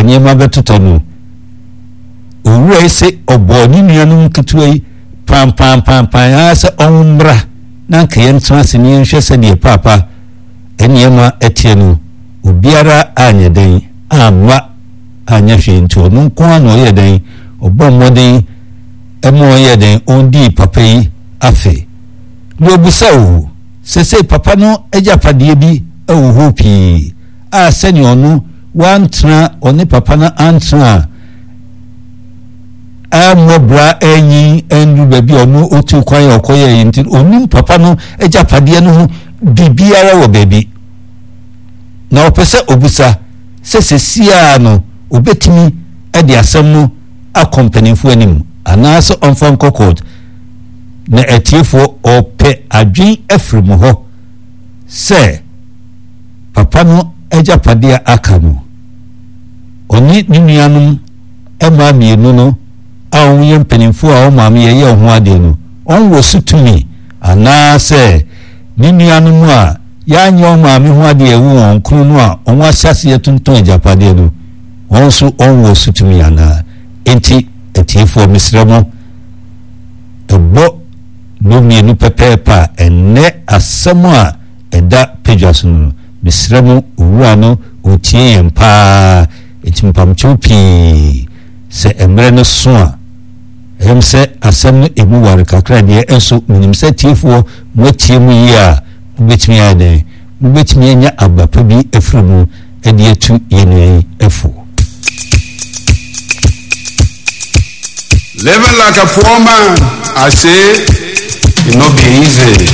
nneɛma bɛtotɔ no, owura yi se ɔbɔɔ ne nuanom nketewa yi pampampampam ara sɛ ɔmmra na anka yɛntena ase na yɛnhwɛ sɛdeɛ paapa nneɛma teɛ no, obiara anyɛ dɛn amma anyɛ hwee nti ɔno nko ara na ɔyɛ dɛn ɔbɔ mmɔden ma ɔyɛ dɛn ɔndii papa yi afe. Na ɔbisa o, sesei papa no agyapadeɛ bi wɔ hɔ pii a sɛdeɛ ɔno wantena ɔne papa no antena a ammɔ bra anyin anduru baabi a ɔno ɔtu kwan a ɔkɔyɛɛ yi nti ɔnim papa no agyapadeɛ no ho biribiara wɔ baabi. Na ɔpɛ sɛ ɔbisa sɛ sesiaa no ɔbɛtumi de asɛm no akɔ mpanimfoɔ anim anaasɛ ɔmfa nkɔ court. Na atiefoɔ ɔpɛ adwen afiri mo hɔ sɛ papa no agyapadeɛ a aka no ɔne ne nuanom mmaa mmienu no a wɔyɛ mpanimfoɔ a wɔn maame yɛyɛ wɔn ho adeɛ no wɔn wɔ so tumi anaasɛ ne nuanom a yɛanyɛ wɔn maame ho adeɛ ɛwo wɔn kono no a wɔn ahyɛ aseɛ tontɔn agyapadeɛ no wɔn nso wɔn wɔ so tumi anaa. Enti atiefoɔ mesrɛ mo ɛbɔ nnɔnmienu pɛpɛɛpɛ a, ɛnnɛ asɛm a ɛda padwa so no, mesrɛ mo, owura no ɔretie yɛn paa, enti mpamkyɛw pii, sɛ mmerɛ no so a, ɛyɛ me sɛ asɛm no ɛmu ware kakra deɛ, nso menim sɛ atiefoɔ moatie mu yie a, mobɛtumi ayɛ dɛn? Mobɛtumi anya aba pa bi afiri mu de atu yɛn nua yi fo. Living like a poor man, I say, it no be easy.